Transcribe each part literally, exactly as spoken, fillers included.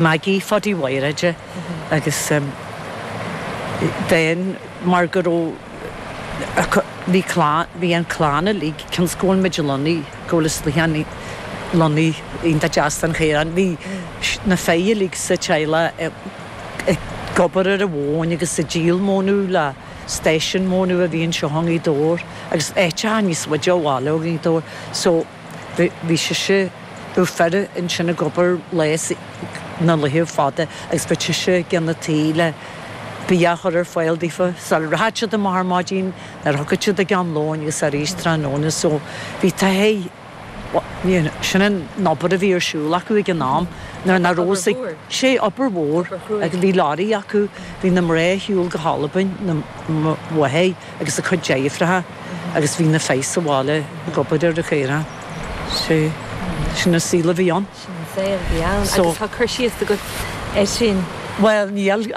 Maggie Pháidí Mhaoraide agus um, den mar go raibh bhí bhí an clann uilig cionn is go bhfuil muid lonnaithe go bhfuil is lonnaithe iontach deas an chaorán bhí na fir uilig sa teaghlach ag obair ar an mhóin agus ag díol mónadh le stáisiún mónadh a bhí anseo i nGaoth Dobhair agus áiteacha níos faide ó bhaile ó Ghaoth Dobhair so bhí sise bhí fir ansin ag obair lá na laetha fada agus bhí sise ag déanamh tae le bia a chur ar fáil daofa sula rachadh siad amach ar maidin nuair a thiocfadh siad ag am lóin agus arís tráthnóna so bhí tae sin an obair a bhí ar siúl acu ag an am nuair nach raibh sé obair mhór agus bhí lorry acu bhí na mná ar shiúl go hAlbain na mháthair agus a cuid deirfiúracha agus bhí na fir sa bhaile ag obair ar an chaorán sé sin an saol a bhí ann. Sin an saol a bhí ann agus tá cur síos agat air sin. Well níl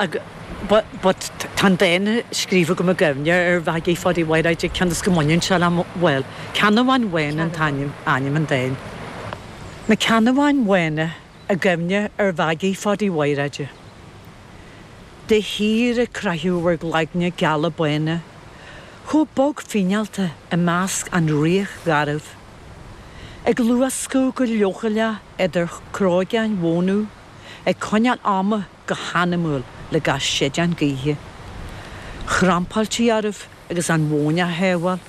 but but tá dán scríofa agam i gcuimhne ar Mhaggie Pháidí Mhaoraide cionn is go mbaineann sé le bhuel Ceannabháin Bhána an t-ainm ainm an dáin. Na Ceannabháin Bhána i gcuimhne ar Mhaggie Pháidí Mhaoraide. De shíor ag croitheadh bhur gcloigne geala bána, chomh bog fíneálta i measc an fhraoich ghairbh. Ag luascadh go leochaileach idir chrógáin mhónadh, ag coinneáil ama go hanamúil le gach séideán gaoithe. Chrampáiltí oraibh agus an mhóin á shábháil.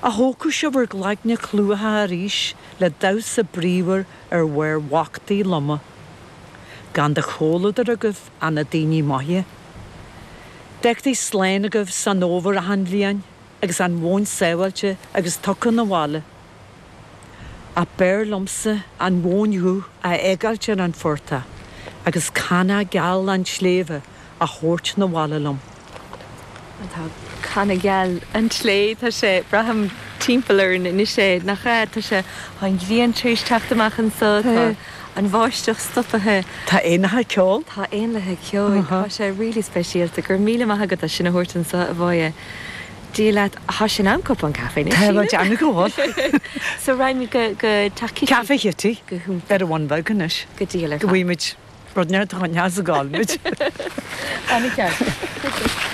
A thógfadh sibh bhur gcloigne clúmhacha arís le damhsa bríomhar ar bharr bhachtaí loma. Gan de chomhluadar agaibh ach na daoine maithe. D'fhágtaí slán agaibh san fhómhar achan bhliain agus an mhóin sábháilte agus tugtha 'na bhaile. Ach b'fhearr liomsa an mhóin dhubh a fhágáilt ar an phortach agus canna geal an tsléibhe a thabhairt 'na bhaile liom. Tá canna geal an tslé tá sé braithim timpeall orainn anois é nach ea tá sé an ghrian tar éis teacht amach anseo tá an bháisteach stoptha. Tá éanacha ag ceol? Tá éanlaithe ceoil Tá sé really speisialta go raibh míle maith agat as sin a thabhairt anseo a Mháire. Dia leat tá sé in am cupán caife Tá deanna go bhfuil. So raghaimid go go teach Café Chitty Go hiontach. ar an Bhun Bheag anois. Go diail ar Go bhfuimid rud neart a choinneáil sa gáilmid. An-cheart.